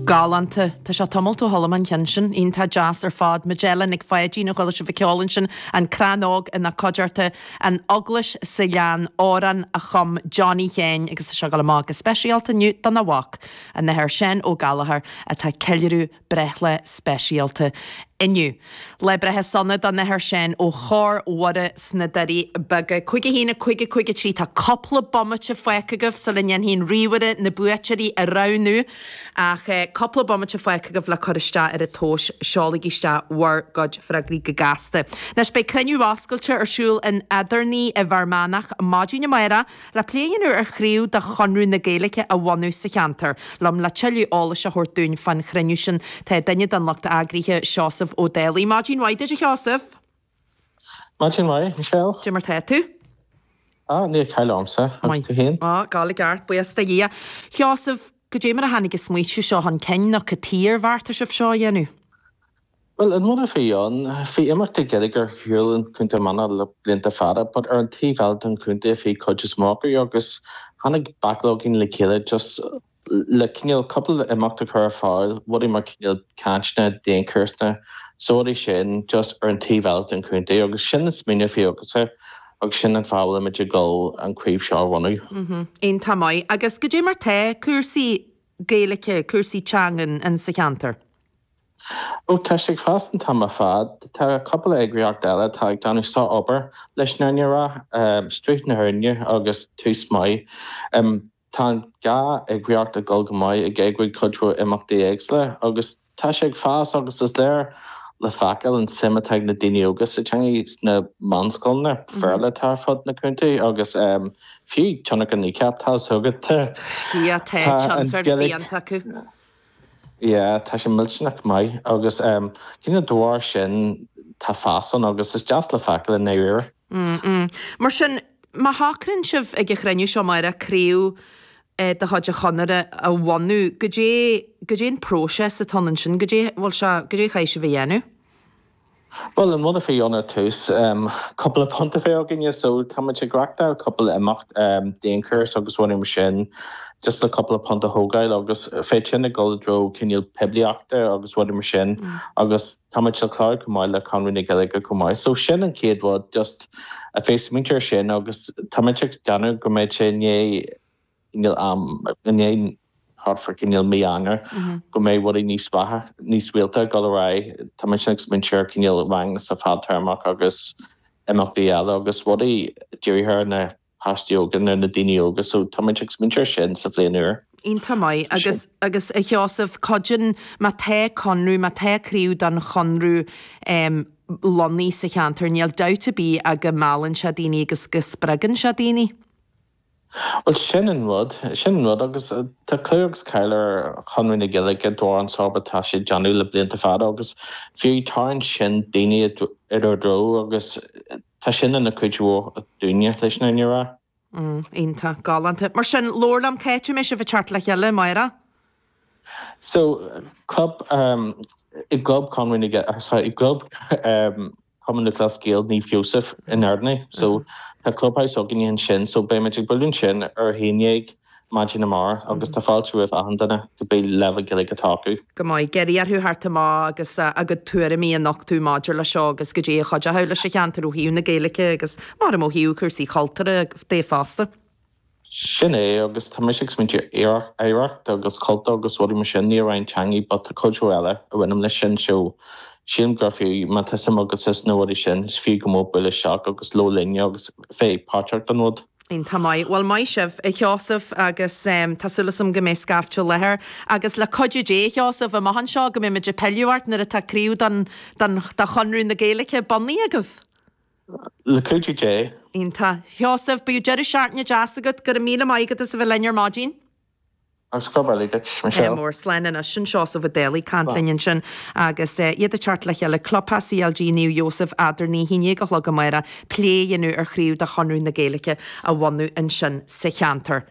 Galánta. Tá sé tamalt ó chuala mé an ceann sin. Iontach deas ar fad. Majella Nic Pháidín a chuala sibh ag ceol ansin. An Crann Óg ina Cuideachta. An Eaglais sa Ghleann. Amhrán a chum Johnny Sheáin agus tá sé ag dul amach go speisialta inniu dona mhac, an tAthair Seán Ó Gallchóir atá ag ceiliúradh breithlá speisialta inniu. Lá breithe sona don Athair Seán ó Chór Mhuire sna Doirí Beaga. 5 1 5 5 3 Tá cúpla bomaite fágtha agaibh sula ndéanfaidh an ríomhaire na buaiteoirí a roghnú ach cúpla bomaite fágtha agaibh le cur isteach ar an tomhas. Seolaigí isteach bhur gcuid freagraí go gasta. Anois beidh cruinniú oscailte ar siúl in Eadarnaí i bhFear Manach maidin amárach Le plé a dhéanamh ar chraobh de Chonradh na Gaeilge a bhunú sa cheantar. Liom le tuilleadh eolais a thabhairt dúinn fán chruinniú sin tá duine den lucht eagraithe, Seosamh Ó Dálaigh. Maidin mhaith duit a Sheosaimh! Maidin mhaith, Michelle. Cad é mar tá tú? Ah, níl caill ormsa, agus tú féin? Ah, ag gabháil i gceart, buíochas do Dhia. Sheosaimh, goidé mar a tháinig an smaoitiú seo chun cinn nó cad chuige ar bheartaigh sibh seo a dhéanamh? Bhuel, an rud a bhí ann, bhí imeachtaí Gaeilge ar siúl in Contae Fhear Manach le blianta fada, but ar an taobh eile den chontae bhí cuid is mó acu agus tháinig backlog le chéile just le cineál cúpla imeacht a chur ar fáil, rudaí mar cineál cainteanna, daonchúrsanna, so rudaí sin just ar an taobh eile den chontae agus sin an smaoineamh a bhí agamsa agus sin an fáth a bhfuilimid ag dul an craobh seo a bhunú. Iontach maith. Agus goidé mar tá cúrsaí Gaeilge, cúrsaí teangan in sa cheantar? Ó, tá sé ag fás an t-am ar fad. Tá cúpla eagraíocht eile atá ag déanamh sár-obair leis an fhírinne a rá, Sruth na hÉireann agus Tús Maith. Tá an dhá eagraíocht ag dul go maith ag eagrú cuid mhór imeachtaí éagsúla agus tá sé ag fás agus is léir le feiceáil an suim atá ag na daoine óga sa teanga sna meánscoileanna Béarla atá ar fud na contae agus fiú tionchar Kneecap tá a fhios agat. Tá tionchar fiánta acu. Yeah, tá sé millteanach maith agus cineál de bharr sin tá fás ann agus is deas le feiceáil i ndáiríre. Mm. Mar sin, má shocraíonn sibh ag an chruinniú seo amárach craobh de chuid an Chonartha a bhunú, goidé, goidé an próiseas atá ann ansin, goidé, bhfuil sé, goidé a chaithfidh sibh a dhéanamh? Bhuel, an rud a bhí ann ar tús, cúpla punt a bheith againne, so tá muid ag reachtáil cúpla imeacht, daonchúrsa agus rudaí mar sin, just le cúpla punt a thógáil agus bheadh sin ag dul i dtreo cineál poiblíochta agus rudaí mar sin agus tá muid ag clárú chomh maith le Conradh na Gaeilge chomh maith. So sin an chéad rud, just a bheith smaointe ar sin agus tá muid ag déanamh go mbeidh sé i ndiaidh cineál am, i ndiaidh thart fá cineál mí Eanáir, go mbeidh rudaí níos mhaithe, níos rialta ag dul ar aghaidh. Tá muid ag smaointiú ar cineál ranganna sa fadtéarmach agus imeachtaí eile agus rudaí dírithe ar na páistí óga nó na daoine óga so tá muid ag smaointiú ar sin sa bhliain úr. Iontach maith. Agus, agus a Sheosaimh, cuidíonn, má tá conradh, má tá craobh den Chonradh lonnaithe sa cheantar, níl dabht ar bith ach go meallann sé daoine agus go spreagann sé daoine. Bhuel, sin an rud, sin an rud agus tá clú agus cáil ar Chonradh na Gaeilge de bharr an sár-obair atá siad ag déanamh le blianta fada agus fiú tarraingt sin daoine i dtreo agus tá sin ina cuid mhór dúinne leis an fhírinne a rá. Iontach, galánta. Mar sin, labhair liom, cá háit a mbeidh sibh ag teacht le chéile amárach? So, club, i gclub Conradh na Gaeilge, sorry, i gclub Chumann Lúthchleas Gael Naomh Sheosaimh in Ardnaí. So, tá clubhouse againne ansin, so beidh muid ag bualadh ansin ar a haon dhéag maidin amárach agus tá fáilte roimh achan duine, cibé leibhéal Gaeilge atá acu. Go maith. Iarraidh orthu theacht amach agus a gcuid tuairimí a nochtadh maidir leis seo agus goidé a chuideochadh leis an cheantar ó thaobh na Gaeilge agus maram ó thaobh cúrsaí cultúrtha de fosta. Sin é, agus tá mise ag smaointiú ar oidhreacht agus cultúr agus rudaí mar sin, ní amháin teangaí but tá cuid mhór eile a bhaineann leis sin so sílim gur fiú, má tá suim agatsa sna rudaí sin, is fiú go mór bualadh isteach agus labhairt linne agus bheith páirteach den rud. Iontach maith. Bhuel, maith sibh, a Sheosaimh, agus tá súil agam go mbeidh scaifte i láthair. Agus le cuidiú Dé, a Sheosaimh, amach anseo go mbeidh muid ag pilleadh ort nuair atá craobh don, don, do Chonradh na Gaeilge bunaithe agaibh. Le cuidiú Dé. Iontach. Sheosaimh, bíodh deireadh seachtaine deas agat. Go raibh míle maith agat as a bheith linn ar maidin. Agus gurb amhlaidh duit, Michelle. Mór. Slán anois. Sin Seosamh Ó Dálaigh ag caint linn ansin agus iad ag teacht le chéile, Clubtheach CLG Naomh Iósaf, Eadarnaí, 11 a chlog amárach, plé a dhéanamh ar chraobh de Chonradh na Gaeilge a bhunú ansin sa cheantar.